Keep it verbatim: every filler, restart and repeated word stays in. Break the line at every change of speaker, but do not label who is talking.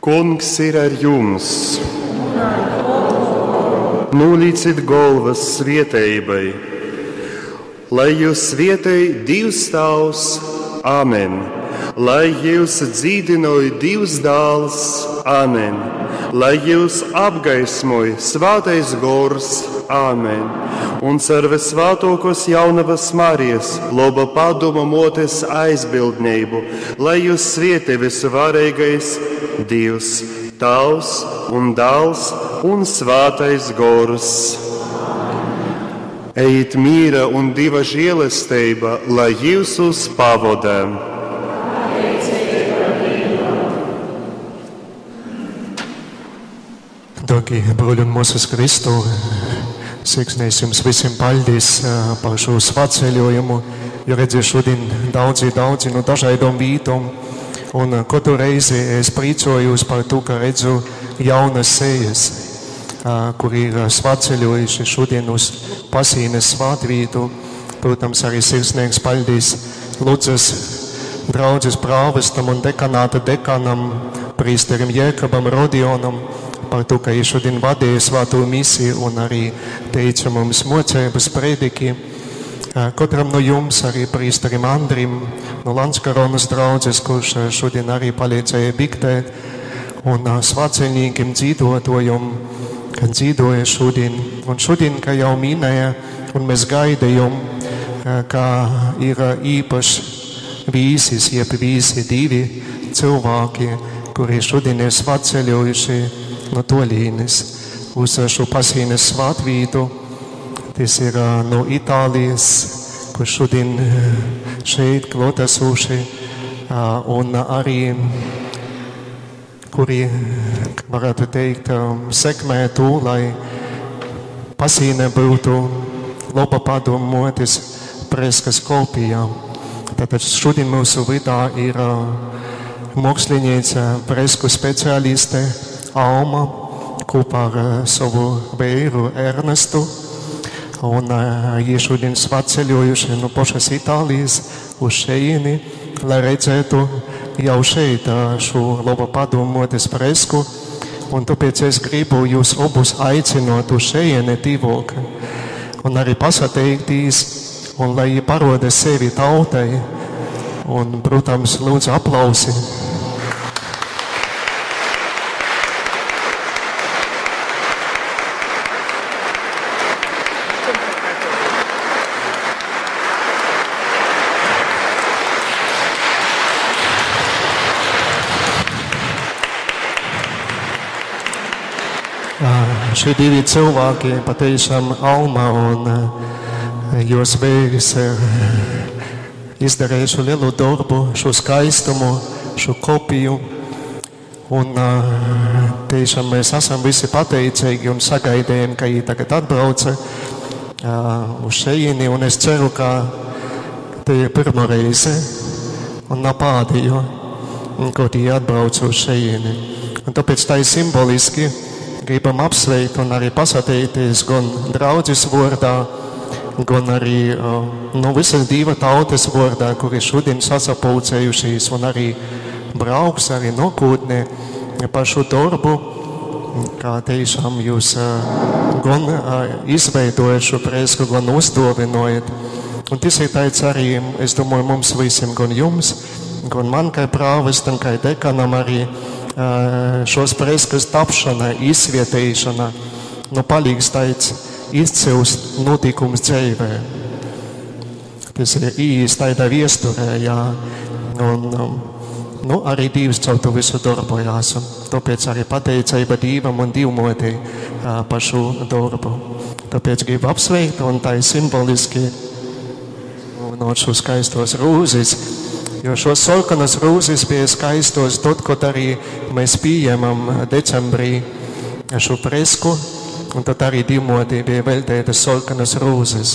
Kungs ir ar jums! Nūlīcit golvas svieteibai, lai jūs svietej Dīvs Tāvs, Āmen. Lai jūs dzīdinoj Dīvs Dāls, Āmen. Lai jūs apgaismoj Svātais Gors, Āmen. Un car visvātokos jaunavas Marijas, loba padoma motes aizbildnību, lai jūs svietej visuvarīgais Dievs, Tāvs un Dāls un Svātais Gors. Ejiet mīra un Dieva žēlastība, lai jūs pavoda.
Dārgie bruļi un māsas Kristu, sirsnīgs jums visiem paldies par šo svētceļojumu, jo redziet šodien daudzi, daudzi no dažādām vītām. Un katru reizi es priecājos par to, ka redzu jaunas sejas, kuri ir svētceļojuši šodien uz Pasīnes svētvietu. Protams, arī sirsnīgs paldies Ludzas draudzes prāvestam un dekanāta dekanam, prīsterim Jēkabam Rodionam, par to, ka viņš šodien vadīja svēto misiju un arī teica mums mocības prediki. Katram no jums, arī prīsterim Andrim no Landskaronas draudzes, kurš šodien arī palīdzēja biktēt, un svētceļniekiem dzīvotojum, kad dzīvoja šodien. Un šodien, kā jau minēja, un mēs gaidījām, ka ir īpašs vīsis, jeb vīsi divi cilvēki, kuri šodien ir svētceļojuši no tolīnes uz šo Pasīnes svētvītu. Tas ir no Itālijas, kur šodien šeit klātesoši, un arī, kuri, varētu teikt, sekmē to, lai Pasīne būtu laba padomu motes freskas kopijā. Tātad šodien mūsu vidā ir mākslinieca, fresku speciāliste Alma kopā ar savu vīru Ernestu. Un viņi šodien svētceļojuši no pašas Itālijas uz šejieni, lai redzētu jau šeit šo labo padomu motes fresku. Un tāpēc es gribu jūs abus aicinot uz šejieni tīvok. Un arī pasateikties, un lai viņi paroda sevi tautai. Un, protams, lūdzu aplausi. Šie divi cilvēki, patiešām Alma un jos vīrs, ir izdarījuši lielu darbu, šo skaistumu, šo kopiju. Un tiešām mēs esam visi pateicīgi un sagaidījām, ka viņi tagad atbrauca uz šejieni. Un es ceru, ka te ir pirma reize un nav pēdējo, kad viņi atbrauc uz šejieni. Un tāpēc tā ir simboliski. Gribam apsveikt un arī pasateikties gan draudzes vārdā, gan arī no visas Dieva tautas vārdā, kuri šodien sasapulcējušies un arī brauks arī nākotnē par šo darbu, kā tiešām jūs gan izveidojat šo fresku, gan uzdāvinojat. Un tas ir tāds arī, es domāju, mums visiem, gan jums, gan man kā prāvestam, kā dekanam arī, šos freskas tapšana, izsvietēšana, nu palīgs tāds izcils notikums dzīvē. Tas ir īsti tādā viesturē, jā. Un, nu, arī Dievs caur to visu darbojās. Un tāpēc arī pateicība Dievam un Dievmotei par šo darbu. Tāpēc gribu apsveikt, un tā ir simboliski no šo skaistos rūzes. Jo šos sarkanas rūzes bija skaistos tad, kad arī mēs pieņemam decembrī šo fresku, un tad arī Dievmotei bija veltītas sarkanas rūzes.